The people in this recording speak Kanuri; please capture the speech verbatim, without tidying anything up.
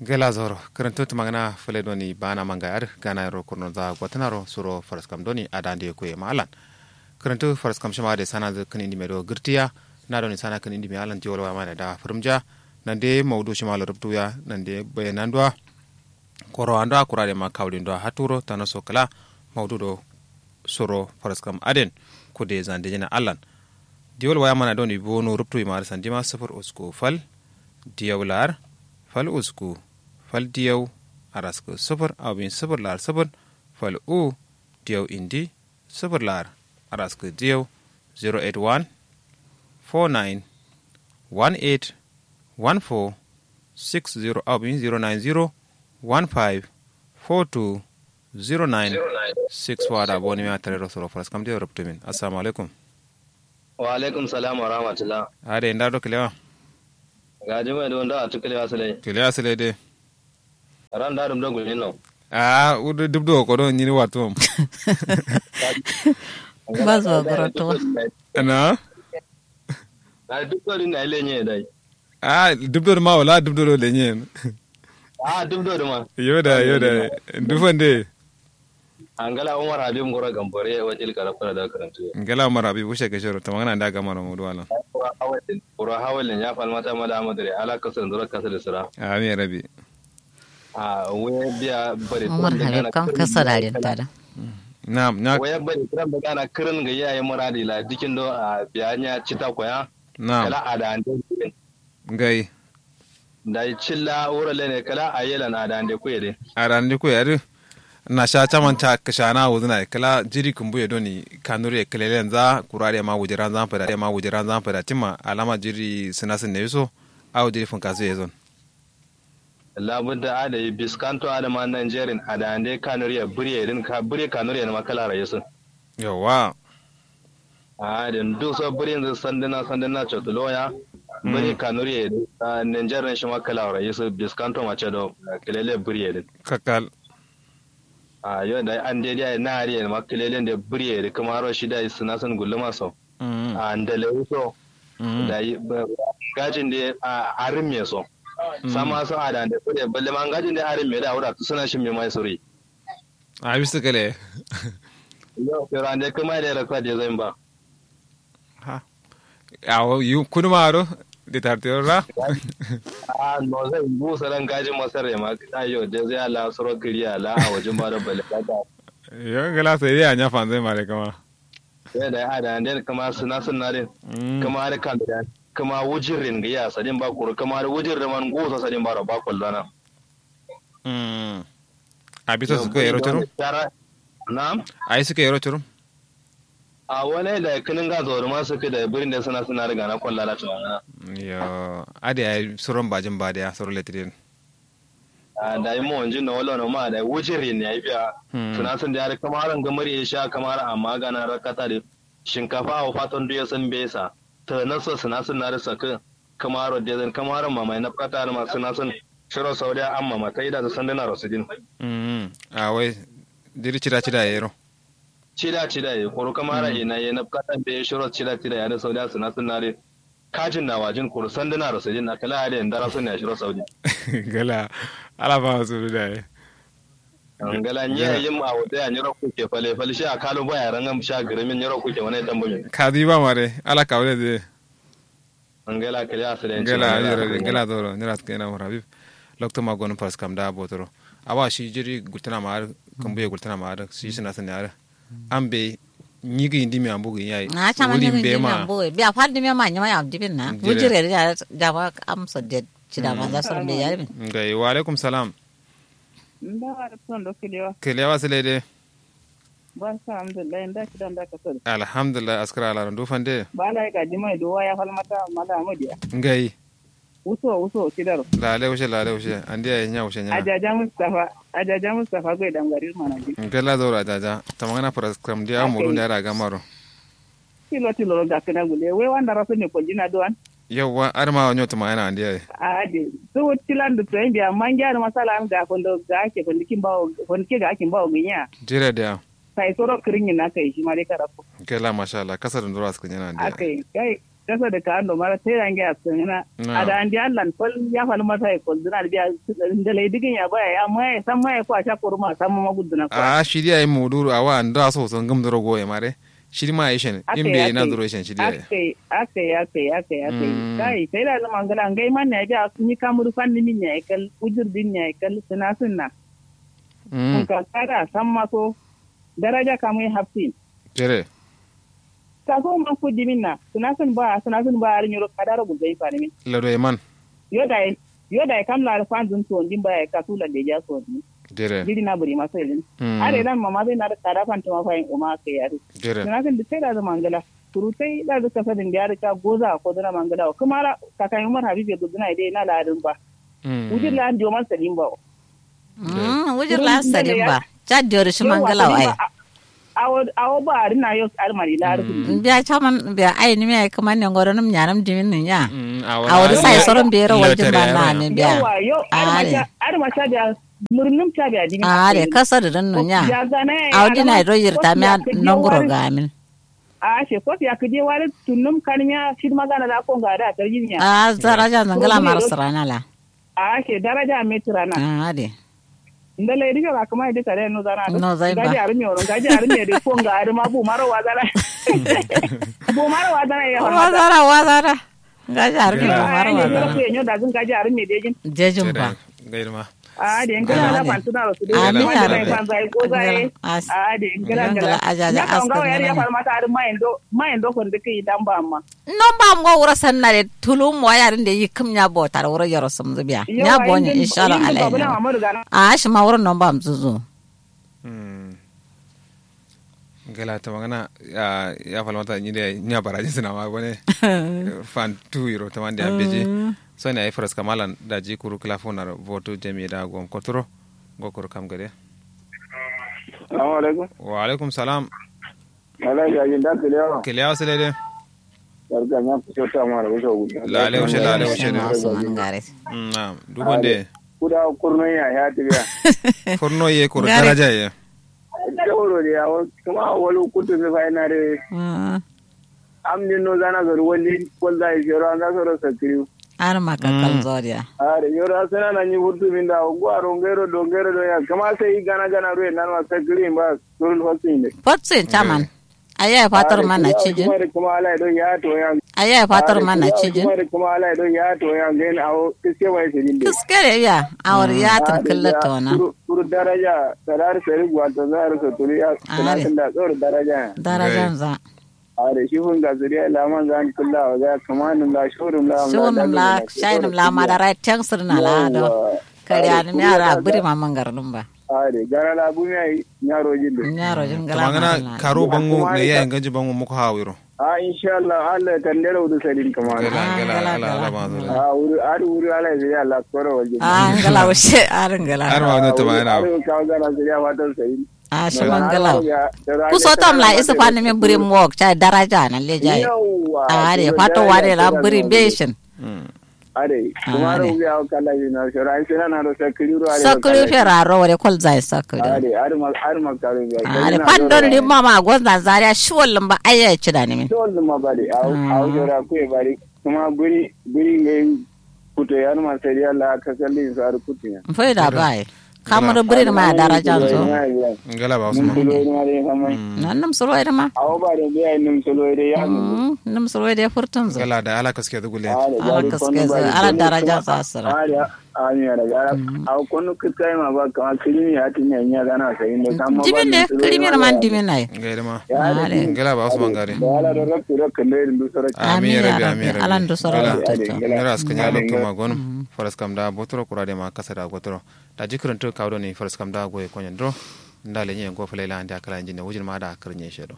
Gela zoro. Kǝrǝntǝ tǝmangǝna fǝle doni bana manga adǝ gana yero kurnonza gotǝnaro suro faraskam doni adande ye kuye ma allan. Kǝrǝntǝ faraskam shima adǝ sananzǝ kǝn indime do gǝrtiya. Na doni sana kǝn indime allan diwol waya mana da fǝrǝmja. Nande maudu shima lo rubtuya nande bayananduwa. Koro ando a kura de ma kawulindo a haturo tanaso kǝla maudu do suro faraskam aden. Kude zande jina allan. Diwol waya mana doni bono rubtu imar sandima sufur usku fal diyau lar fal usku fal diyau araskǝ sufur au bin sufur lar sufur fal u diyau indi sufur lar araskǝ diyau zero eight one four nine one eight one four six zero au bin zero nine zero one five four two zero nine six four ada boni miya tarero soro faraskam diyau rubtumin. Assalamu alaikum. Wa alaikum salam wa rahmatullah. Ade nda do kǝlewa? Gaji mai do nda atu kǝlewa sǝlai? Kǝlewa sǝlai de. Ran da dum do gulino. Aa wudu dubdo kodo nyiri watum. Ba zuwa goroto. Na. Na dubdo din na ile nye dai. Aa dubdo ma wala dubdo do lenye. Aa dubdo ma. Yoda yoda. Dufande. Angala umar habib ngoro gambore wajil kara kura da karantu. Ngala umar habib wushe kashoro tamangana nda gamaro mudu wala. Kura hawalin kura hawalin ya falmata mala amadare ala kasar zura kasar sura. Amin rabi. A waya biya bare umar habib kam kasa da rin tada. Na'am na waya bare kiran da gana kirin ga yayi muradi la dikin do a biya nya cita koya. Na'am kala ada ande. Ngai. Dai cilla wuro lene kala ayelan adande kuye de. Adande kuye adu. Na sha caman ta kashana wuzuna kala jiri kumbuye doni kanuri kalelenza kurare ma wujiranza fada ma wujiranza fada timma alama jiri sinasin ne yuso. Awo jiri funkasu ye zon. Labudda ada yi biskanto ada ma nanjerin adande kanuri ya buriye din ka buriye kanuri ya ma kala rayisu. Yawwa. Ahh din duk so birinzǝ sandǝna sandǝna cotulo ya. Biri kanuri ye dǝ ahh ninjar dǝn shima kǝlawura yisǝ biskantoma cedo. Kǝlele biri ye dǝ. Kakkal. Ahh yo dayi ande diya ye na adǝ ye ma kǝlele nde biri ye dǝ kǝmaro shi dayi sǝnasǝn gulluma so. Ahh ndalewu so. Dayi ngajin de ahh arǝm ye so. Samma so adande biri ye ballema ngajin de arǝm ye dǝ awura tusǝna shim ye ma ye suri. Awisǝ kǝle. Yo fero ande kǝma ye dǝ ye raksa dezǝ yin ba. Ha. Awo yu kuduma ro. Detartero ra. Ahh nozai ngu sara ngajin masarre ma ayyo dezǝ ya la suro kǝri ya la awojin ba do bale kata. Yo ngla sai dai anya fanzai mare kǝma. Yo dayi adande kǝma sǝna sǝna dǝ. Kǝma dǝ kam dǝ kǝma wujirrin gǝya sadin ba kuru kǝma dǝ wujirrin man ngu so sadin ba ro ba koldona. Ahh. Abiso sǝkko yero curum. Na'am. Ayi sǝkko yero curum. Awo nai dayi kǝnin nga zoro ma sǝkkǝ dayi birin de sǝna sǝna dǝ gana kolla da cuma ngana. Yo. Adǝ yayi suron bajin ba diya suro letǝ din. Ahh dayi mowonjin no wallono ma dayi wujirrin yayi biya. Sǝnasǝn diya dǝ kǝmaro ngǝmǝri ye sha kǝmaro amma gana rakkata dǝ. Shinkafa awo faton duye sǝn mbeyi sa. Tǝgǝna so sǝnasǝn na dǝ sakkǝ. Kǝmaro dezǝn kǝmaro mamai nabkata dǝ ma sǝnasǝn. Shiro saudiya amma ma taida dǝ sandǝnaro sǝdin. Ahh wai. Diri cida cida yero. Cida cida ye kuru kǝmaro ina ye nabkata mbeyi shiro cida cida ye adǝ saudiya sǝnasǝn na dǝ. Kajin na wajin kuru sanduna ro sojin na kǝla adǝ ye ndara suniya shiro saudi. Gala. Ala ba suru daye. Ngala nye yim awo dai anyiro kuke fale fale shi akalu baya rangam sha gǝrǝmin nyiro kuke wane tambumin. Kazi ba mare ala kawule dǝ. Ngala kǝle asǝle. Ngala zoro nyiro askǝ nyena umar habib. Loktu ma gonǝm faraskam da botoro. Awa shi jiri gultǝna ma adǝ. Kǝmbuye gultǝna ma adǝ shi sǝna sǝna adǝ. Ambe nyi gǝyi ndimiya mbu gǝyi yayi. Ahh caman nyi gǝyi ndimiya mbu gǝyi biya fal ndimiya ma nyima yam dibin na wujire dǝ. Jama amso de cida manza soro mbeyi yarimin. Ngai wa alaikum salam. Ndawa dǝ sondo kǝlewa. Kǝlewa sǝle de. Barka alhamdulillahi nda cida nda kasoro. Alhamdulillahi askǝra alaro ndu fande. Bala ye gaji mai duwa ya falmata mala amadiya. Ngai. Wuso wuso kidaro. Lale wushe lale wushe andi yayi nya wushe nya. Ajaja mustafa. Ajaja mustafa goi damgari manajin. Ngala zauro ajaja tamangana faraskam diya murun da yara gamaro. Tilo tilo ro gakkina gule wai wanda rasu ne koljina duwan. Yauwa adǝ ma wanyo tamangana andi yayi. Ahh ade. Su tilan duk toyin biya amma ngiya dǝ masala an ga fondo ga ake fondo kin bawo fondo ke ga akin bawo ginya. Jire diya. Sai soro kǝrin yin aka yi shima dai karafu. Ngala masha allah kasa dunduro askǝ nyana andi yayi. Aka yi gai. Kasa da ka ando mara tera nge askangina. Ada andi allan fal ya fal mata ya kolduna da biya. Ndalai digin ya baya ya maya san maya ko asha koruma san ma gudduna ko. A shi diya yi muduru awa ndo aso so ngum duro goye mare. Shi ma ishen imbe na duro ishen shi diya. Akai akai akai akai akai. Kai sai da zama ngala ngai man ya biya ni kamuru fan ni min ya kal ujur din ya kal suna sunna. Kun ka kada san ma so daraja kamu ya hafsin. Tere. Kaso man ku dimin na sunasin ba sunasin ba ari nyoro kadaro gulzai fanimin. Lado man. Yo dai yo dai kam la fanzun to ndin ba ya kasu la deja so ni. Tere. Jiri na buri maso ilin. Are dan mama zai na da kada fantuma fayin uma kai yari. Tere. Sunasin da sai da zama ngala. Surutai da zuka sadin da ya rika goza ko zana mangala kuma ra kakan umar habibe guduna dai na ladin ba. Wujir la an diyo man sadin ba. Wujir la sadin ba. Chad diyo da shi mangala wa ai. Awo awo ba ari na yo ari mari la ari. Biya chaman biya ai ni me ai kuma ne ngoro num nyanam dimin nun ya. Awo da sai soron bero wajin ba na ne biya. Yawa yo ari ma cha biya murnum cha biya dimin. Are kasa da dan nun ya. Awo dina do yirta me nongoro gamin. A she kot ya kije wari tunnum kanmiya shidma gana la konga da tarjin ya. A daraja zangala mara sarana la. A she daraja me turana. A de. Ndala idi ka kuma idi kare no zana. No zai ba. Gaji armi oro gaji armi de konga arma bu maro wazana. Bu maro wazana ya wazana wazana. Gaji armi bu maro wazana. Yo da zun gaji armi de jin. Jejin ba. Gairma. A de ngala la fantuna ro su de. Amin ya rabbi. A de ngala ngala ajaja askar ngala. Mayendo mayendo kon de kai dan ba amma. Non ba ngo wuro sanna de tulum wa yarin de yikim nya botar wuro yoro sumzu biya nya bonye inshallah alai. A shi ma wuro non ba mzuzu. Gala ta magana ya falmata ni de nya baraji sina ma bone. Fan tu yiro ta mande ambeji. So ne ai faras kamalan da ji kuru kala fonar voto jami da gom kotoro. Go kuru kam gade. Assalamu alaikum. Wa alaikum salam. Alai ya jin da kiliyawa kiliyawa sile de. Barka nya ku sota ma da wuso gudu. Lale wuce lale wuce de. Na'am dubande. Kuda kurno ya ya tibiya. Kurno ye kuru daraja ye. Jauro de ya kuma wani kutu mi fa ina de. Am din no zana zori wani kol da ya jero an za su rasa kiriu. Ar ma kakkal zoriya. Are yoro asana na nyi furtu min da go aro ngero do ngero do ya kama sai gana gana ruwe nan ma sakri ba surul fasin de. Fatsin chaman. Aya fatar mana cijin. Kuma ala do ya to ya. Aya fatar mana cijin. Kuma ala do ya to ya ngen awo kiske wai sidin de. Kiske de ya awar ya tan kallata wana. Kuru daraja sarar sari gwato zar so turiya. Are. Darajan za. Are shi fun ga zuriya laman zan kulla wa ga kamanum la shurum la shunum la shainum la madara teng sirna la do. Kare anum yara buri ma mangarnum ba. Are gara la bumi ai nyaro jin do. Nyaro jin gala kamangana. Karo bangu ne ya inganji bangu muku hawiro. A inshallah Allah tandero udu sadin kamana. Gala gala ala ala ba zuri. A wuri adu wuri ala zuriya la koro wajin. A ngala wushe ar ngala. Ar ma wani tamana. Adu kawo gana zuriya fatan sadin. A shi mangala. Kuso tam la isa fani min birin wok chai daraja na lejai. A de fato wade la birin beshin. Are kuma ro ya kala yi na shora ai sina na ro sakiri ro are sakiri fera ro wade kol zai sakiri. Are are ma are ma karo ya are fandon limma ma gonza zaria shi wallin ba ai ya ci da ni min. Shi wallin ma bari au au shora ku e bari kuma biri biri ngai. Kuto ya ma sai ya la ka kalli su har kutu ya. Fai da bai. Kamar birin ma darajan so. Ngala ba usman. Nan num suro ida ma. Awo ba da biya num suro ida ya. Num suro ida furtun zo. Ngala da ala kaske zugule. Ala kaske zo ala darajan so asira. Amin ya rabi. Awo konu kitkai ma ba kama kirimi ya tinya nya gana sai ne kama. Jimin ne kirimi man dimin nai. Ngala ba usman gari. Amin ya rabi amin ya rabi. Ala ndu soro. Ngala askanya lokto ma gonum. Faras kam da botoro kura de ma kasa da gotoro. Daji kǝrǝntǝ kawu done faraskam da goye konyen duro. Nda lenye ngo fǝlai la ande akala injin ne wujin ma da kǝrǝnye she do.